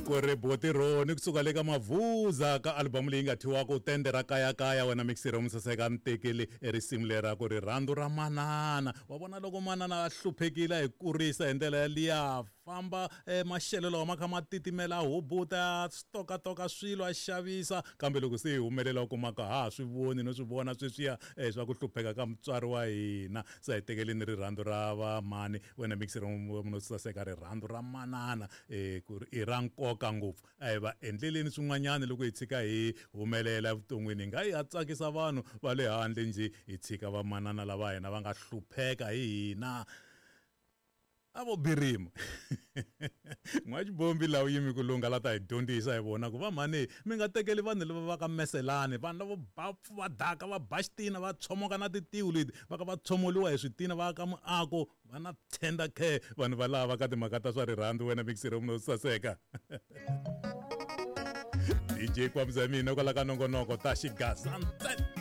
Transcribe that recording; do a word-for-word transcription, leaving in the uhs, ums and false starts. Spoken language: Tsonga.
Ku ri Botironi kusuka le ka Mavuza ka album leyi nga thyiwaka Tende ra Kayakaya. Wena mixero musaseka ni tekeli risimu leri ra ku rirhandzu ra manana. Wa vona loko manana a hluphekile a hi kurisa hi ndlela yaliya, famba maxelo lawa ma kha ma titimela, a hubuta, a stokatoka swilo, a xavisa, kambe loko se hi humelela u kumaka ha ha swi voni no swi vona sweswiya swa ku hlupheka ka mutswari wa hina. Se a hi tekeleni rirhandzu ra vamhani. Wena mixero saseka, rirhandzu ra manana ku ri i ra nkoka ngopfu. A hi va endleleni swin'wanyana loko hi tshika hi humelela evuton'wini, hi nga yi ha tsakisa vanhu va le handle njhe, hi tshika vamanana lava hina va nga hlupheka hi hina. A vo birima n'waxibombi laha u yimi ku lungha la ta hi dyondzisa hi vona ku va mhani mi nga tekeli vanhu lava va ka meselani, vanhu lavo ba va daka va ba xitina va tshomoka na titiwu leti va ka va tshomoliwa hi switina va aka muako va na tender care vanhu va lava ka timhaka ta swa rirhandzu. Wena mixero munhu saseka D J Kwamza mina kwala ka nongonoko ta xigaza ntsena.